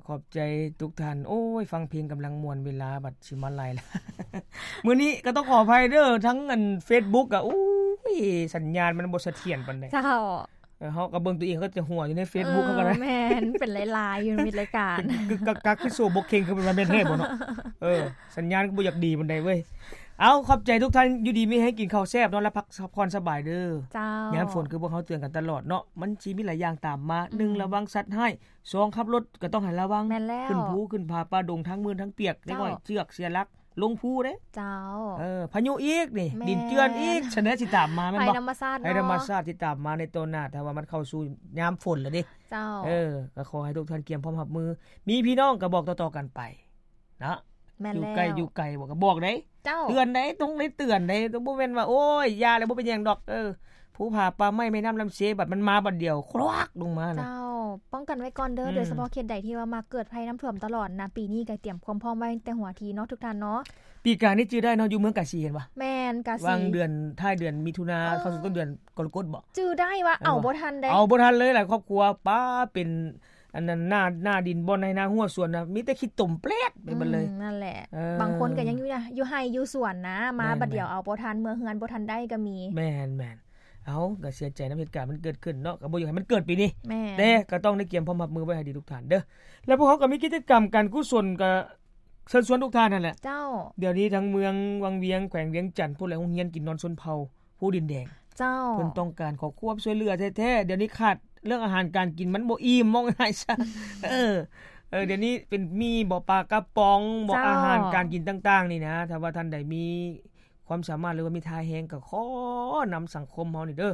ຂອບໃຈທຸກທ່ານ. ໂອ້ຍ ຟັງເພງກຳລັງມ່ວນ ເວລາບັດຊິມາໄລ່ລະ. ມື້ນີ້ກໍຕ້ອງຂໍອະໄພເດີ ທັງອັນເຟສບຸກກະ ໂອ້ຍ ສັນຍານມັນບໍ່ສະຖຽນປານໃດ. ເຈົ້າ. ເອີ ເຮົາກໍເບິ່ງຕົວເອງ ກໍຈະຫົວຢູ່ໃນເຟສບຸກເຮົາກໍໄດ້. ແມ່ນ ເປັນຫຼາຍໆຢູ່ ມີລາຍການ ກຶກໆ ຄືໂຊບົກເຄັ່ງ ຄືວ່າແມ່ນແທ້ບໍ່ເນາະ. ເອີ ສັນຍານກໍບໍ່ຢາກດີປານໃດເວີຍ. ເອົາ ຂອບໃຈທຸກທ່ານ ຢູ່ດີມີແຮງ ກິນເຂົ້າແຊບ ນອນຫຼັບພັກຜ່ອນສະບາຍເດີ. ເຈົ້າ. ຍາມຝົນຄືພວກເຮົາເຕືອນກັນຕະຫຼອດເນາະ ມັນຊິມີຫຼາຍຢ່າງຕາມມາ. ອືມ. ໜຶ່ງ ລະວັງສັດຮ້າຍ. ສອງ ຂັບລົດກໍຕ້ອງໃຫ້ລະວັງ. ແມ່ນແລ້ວ. ຂຶ້ນພູຂຶ້ນຜາປ່າດົງ ທັງມື່ນທັງປຽກ. ເຈົ້າ. ເດັກນ້ອຍເຊືອກເສຍຫຼັກ ລົງພູເດ້. ເຈົ້າ. ເອີ ພາຍຸອີກນີ້. ແມ່ນ. ດິນເຈື່ອນອີກ. ສະແນຊິຕາມມາແມ່ນບໍ່? ໄພທຳມະຊາດເນາະ. ໄພທຳມະຊາດຊິຕາມມາໃນຕໍ່ໜ້າ ຖ້າວ່າມັນເຂົ້າສູ່ຍາມຝົນແລ້ວເດ້. ເຈົ້າ. ເອີ ກໍຂໍໃຫ້ທຸກທ່ານກຽມພ້ອມຮັບມື. ມີພີ່ນ້ອງກໍບອກຕໍ່ໆກັນໄປເນາະ. ແມ່ນແລ້ວ. ຢູ່ໃກ້ຢູ່ໄກບໍ່ກໍບອກເດ້. ເຈົ້າ. ເຕືອນໄດ້ ຕ້ອງໄດ້ເຕືອນໄດ້. ບໍ່ແມ່ນວ່າ ໂອ້ຍ ຢ່າແລ້ວ ບໍ່ເປັນຫຍັງດອກ. ເອີ ພູຜາປ່າໄມ້ ແມ່ນ້ຳລຳເຊ ບັດມັນມາບັດດຽວ ຄວັກລົງມານະ. ເຈົ້າ. ປ້ອງກັນໄວ້ກ່ອນເດີ. ອືມ. ໂດຍສະເພາະເຂດໃດທີ່ວ່າມັກເກີດໄພນ້ຳຖ້ວມຕະຫຼອດນະ ປີນີ້ກໍຕຽມຄວາມພ້ອມໄວ້ຕັ້ງແຕ່ຫົວທີເນາະ ທຸກທ່ານເນາະ. ປີກາຍນີ້ຈື່ໄດ້ເນາະ ຢູ່ເມືອງກາສີ ເຫັນບໍ່? ແມ່ນ ກາສີ. ຫວ່າງເດືອນ ທ້າຍເດືອນມິຖຸນາ ເອີ ເຂົ້າສູ່ຕົ້ນເດືອນກໍລະກົດບໍ່? ຈື່ໄດ້ວ່າ ເອົາບໍ່ທັນເດ້. ເອົາບໍ່ທັນເລີຍ ຫຼາຍຄອບຄົວ ປ້າ ເປັນ ອັນນັ້ນ ໜ້າ ໜ້າດິນ ບ່ອນໄຮ່ນາຮົ້ວສວນນະ ມີແຕ່ຂີ້ຕົມແປດໄປເບິດເລີຍ. ອືມ ນັ້ນແຫຼະ. ເອີ ບາງຄົນກໍຍັງຢູ່ນະ ຢູ່ໄຮ່ຢູ່ສວນນະ ມາ ແມ່ນໆ ບັດດຽວເອົາບໍ່ທັນ ເມືອເຮືອນບໍ່ທັນໄດ້ກໍມີ. ແມ່ນໆ. ເອົາ ກໍເສຍໃຈນຳເຫດການມັນເກີດຂຶ້ນເນາະ ກໍບໍ່ຢາກໃຫ້ມັນເກີດປີນີ້. ແມ່ນ. ແຕ່ກໍຕ້ອງໄດ້ກຽມພ້ອມຮັບມືໄວ້ໃຫ້ດີທຸກທ່ານເດີ. ແລ້ວພວກເຮົາກໍມີກິດຈະກຳການກຸສົນ ກໍເຊີນຊວນທຸກທ່ານຫັ້ນແຫຼະ. ເຈົ້າ. ດຽວນີ້ທັງເມືອງວັງວຽງ ແຂວງວຽງຈັນ ຜູ້ແລະໂຮງຮຽນກິນນອນຊົນເຜົ່າ ພູດິນແດງ. ເຈົ້າ. ເພິ່ນຕ້ອງການຂໍຄວາມຊ່ວຍເຫຼືອແທ້ໆ. ດຽວນີ້ຂາດເລື່ອງອາຫານການກິນ ມັນບໍ່ອີ່ມ ເວົ້າງ່າຍໆຊະ. ເອີ ເອີ ດຽວນີ້ເປັນໝີ່ບໍ ປາກະປ໋ອງບໍ ເຈົ້າ. ອາຫານການກິນຕ່າງໆນີ້ນະ ຖ້າວ່າທ່ານໃດມີຄວາມສາມາດ ຫຼືວ່າມີທ່າແຮງ ກໍຂໍນຳສັງຄົມເຮົານີ້ເດີ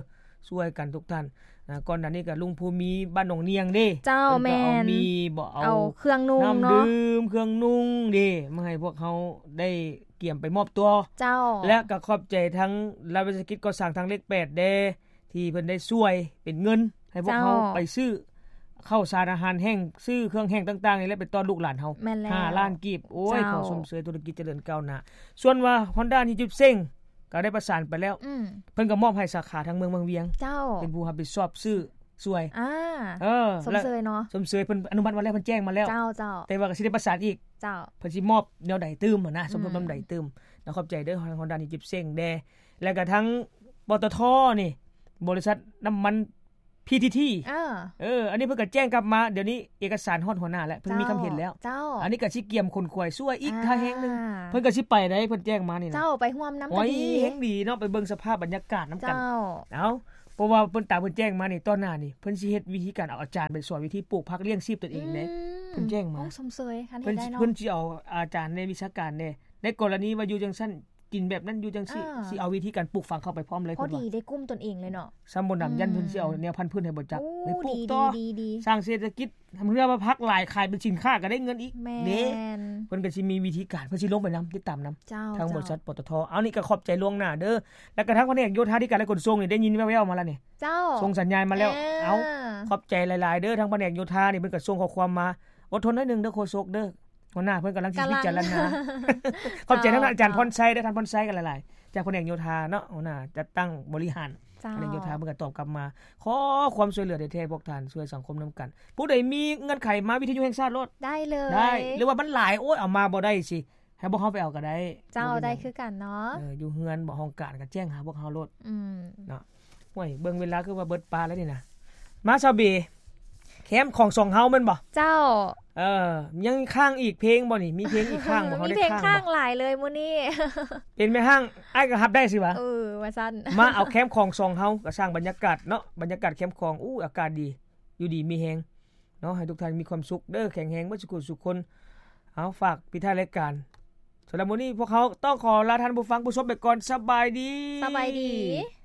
ຊ່ວຍກັນທຸກທ່ານ. ນະ ກ່ອນໜ້ານີ້ກໍລຸງພູມີ ບ້ານໜອງນຽງເດ້. ເຈົ້າ. ເພິ່ນກໍເອົາ ແມ່ນ ໝີ່ບໍ ເອົາ ເອົາເຄື່ອງນຸ່ງເນາະ ນ້ຳດື່ມ ເຄື່ອງນຸ່ງເດ້ ມາໃຫ້ພວກເຮົາໄດ້ກຽມໄປມອບຕົວ. ເຈົ້າ. ແລະກໍຂອບໃຈທາງລັດວິສາຫະກິດກໍ່ສ້າງທາງເລກແປດແດ່ ທີ່ເພິ່ນໄດ້ຊ່ວຍເປັນເງິນໃຫ້ພວກເຮົາ ເຈົ້າ. ໄປຊື້ເຂົ້າສານອາຫານແຫ້ງ ຊື້ເຄື່ອງແຫ້ງຕ່າງໆນີ້ແຫຼະ ໄປຕ້ອນລູກຫຼານເຮົາ. ແມ່ນແລ້ວ. ຫ້າລ້ານກີບ. ໂອ້ຍ ເຈົ້າ. ຂໍຊົມເຊີຍທຸລະກິດຈະເລີນກ້າວໜ້າ. ສ່ວນວ່າຮອນດ້າ ຮີຈິບເຊັງ ກໍໄດ້ປະສານໄປແລ້ວ. ອືມ. ເພິ່ນກໍມອບໃຫ້ສາຂາທາງເມືອງວັງວຽງ. ເຈົ້າ. ເປັນຜູ້ຮັບຜິດຊອບຊື້ຊ່ວຍ. ອ່າ. ເອີ ຊົມເຊີຍເນາະ. ຊົມເຊີຍ ເພິ່ນອະນຸມັດມາແລ້ວ ເພິ່ນແຈ້ງມາແລ້ວ. ເຈົ້າ ເຈົ້າ. ແຕ່ວ່າກໍຊິໄດ້ປະສານອີກ. ເຈົ້າ. ເພິ່ນຊິມອບແນວໃດຕື່ມຫັ້ນນະ ສົມທົບ ອືມ ນຳໃດຕື່ມ. ນະ ຂອບໃຈເດີ ຮອນດ້າ ຮີຈິບເຊັງແດ່ ແລ້ວກໍທັງ ປຕທ ນີ້ ບໍລິສັດນ້ຳມັນ ພີທີທີ. ເອີ ເອີ ອັນນີ້ເພິ່ນກໍແຈ້ງກັບມາ ດຽວນີ້ເອກະສານຮອດຫົວໜ້າແລ້ວ ເພິ່ນມີຄຳເຫັນແລ້ວ. ເຈົ້າ. ເຈົ້າ. ອັນນີ້ກໍຊິກຽມຂົນຂວາຍຊ່ວຍອີກ ອ່າ ທ່າແຮງໜຶ່ງ ເພິ່ນກໍຊິໄປໄດ້ ເພິ່ນແຈ້ງມານີ້ນະ. ເຈົ້າ. ໄປຮ່ວມນຳກໍດີ. ໂອ້ຍ ແຮງດີເນາະ ໄປເບິ່ງສະພາບບັນຍາກາດນຳກັນ. ເຈົ້າ. ເອົ້າ ເພາະວ່າເພິ່ນຕາມເພິ່ນແຈ້ງມານີ້ ຕອນໜ້ານີ້ເພິ່ນຊິເຮັດວິທີການເອົາອາຈານໄປສອນວິທີປູກຜັກລ້ຽງຊີບຕົນເອງເດ້. ອືມ. ເພິ່ນແຈ້ງມາ. ໂອ້ ຊົມເຊີຍ ຄັນເຮັດໄດ້ເນາະ. ເພິ່ນຊິ ເພິ່ນຊິເອົາອາຈານໃນວິຊາການເດ້ ໃນກໍລະນີວ່າຢູ່ຈັ່ງຊັ້ນ ກິນແບບນັ້ນຢູ່ຈັ່ງຊີ້ ເອີ ຊິເອົາວິທີການປູກຝັງເຂົ້າໄປພ້ອມເລີຍ. ພໍດີໄດ້ກຸ່ມຕົນເອງເລີຍເນາະ. ຊ້ຳບໍ່ໜຳ ອືມ ຢ້ານເພິ່ນຊິເອົາແນວພັນພືດໃຫ້ບໍ່ຈັກ ໂອ້ ໄປປູກຕໍ່ ດີໆໆໆ ສ້າງເສດຖະກິດ ເພື່ອວ່າຜັກຫຼາຍຂາຍເປັນສິນຄ້າກໍໄດ້ເງິນອີກ. ແມ່ນ ເດ້ ເພິ່ນກໍຊິມີວິທີການ ເພິ່ນຊິລົງໄປນຳ ຕິດຕາມນຳ. ເຈົ້າ ທາງ ເຈົ້າ ບໍລິສັດ ປຕທ. ເອົາ ນີ້ກໍຂອບໃຈລ່ວງໜ້າເດີ ແລ້ວກໍທາງພະແນກໂຍທາທິການ ແລະ ຂົນສົ່ງນີ້ໄດ້ຍິນແວ່ວໆມາແລ້ວນີ້. ເຈົ້າ ສົ່ງສັນຍານມາແລ້ວ. ເອີ ເອົາ ຂອບໃຈຫຼາຍໆເດີ ທາງພະແນກໂຍທານີ້ເພິ່ນກໍສົ່ງຂໍ້ຄວາມມາ. ອົດທົນໜ້ອຍໜຶ່ງເດີໂຄສົກເດີ ຫົວໜ້າເພິ່ນກຳລັງຊິພິຈາລະນາ. ເຈົ້າ ຂອບໃຈທາງອາຈານ ເຈົ້າ ພອນໄຊເດີ ທ່ານພອນໄຊກໍຫຼາຍໆ ຈາກພະແນກໂຍທາເນາະ ຫົວໜ້າຈັດຕັ້ງບໍລິຫານ ເຈົ້າ ພະແນກໂຍທາ ເພິ່ນກໍຕອບກັບມາ ຂໍຄວາມຊ່ວຍເຫຼືອແທ້ໆ ພວກທ່ານ ຊ່ວຍສັງຄົມນຳກັນ. ຜູ້ໃດມີເງື່ອນໄຂມາວິທະຍຸແຫ່ງຊາດໂລດ ໄດ້ເລີຍ ໄດ້ ຫຼືວ່າມັນຫຼາຍ ໂອ້ຍ ເອົາມາບໍ່ໄດ້ຊິ ໃຫ້ພວກເຮົາໄປເອົາກໍໄດ້. ເຈົ້າ ບໍ່ເປັນຫຍັງ ໄດ້ຄືກັນເນາະ. ເອີ ຢູ່ເຮືອນບໍ່ ຫ້ອງການກໍແຈ້ງຫາພວກເຮົາໂລດ. ອືມ ເນາະ. ໂອ້ຍ ເບິ່ງເວລາຄືວ່າເບິດປາແລ້ວນີ້ນະ. ມາຊາວເບ ແຄມຂອງສອງເຮົາແມ່ນບໍ່? ເຈົ້າ. ເອີ ຍັງຄ້າງອີກເພງບໍ່ນີ້? ມີເພງອີກຄ້າງບໍ່? ເຮົາໄດ້ຄ້າງບໍ່? ມີເພງຄ້າງຫຼາຍເລີຍມື້ນີ້. ເປັນແມ່ຮ້າງ ອ້າຍກໍຮັບໄດ້ຊິວະ. ເອີ ວ່າຊັ້ນ. ມາເອົາແຄມຂອງສອງເຮົາ ກໍສ້າງບັນຍາກາດເນາະ ບັນຍາກາດແຄມຂອງ. ອູ້ ອາກາດດີ ຢູ່ດີມີແຮງ ເນາະ ໃຫ້ທຸກທ່ານມີຄວາມສຸກເດີ ແຂງແຮງເບິດສູ່ຜູ້ສູ່ຄົນ. ເອົາ ຝາກປິດທ້າຍລາຍການ. ສຳລັບມື້ນີ້ພວກເຮົາຕ້ອງຂໍລາທ່ານຜູ້ຟັງຜູ້ຊົມໄປກ່ອນ. ສະບາຍດີ. ສະບາຍດີ.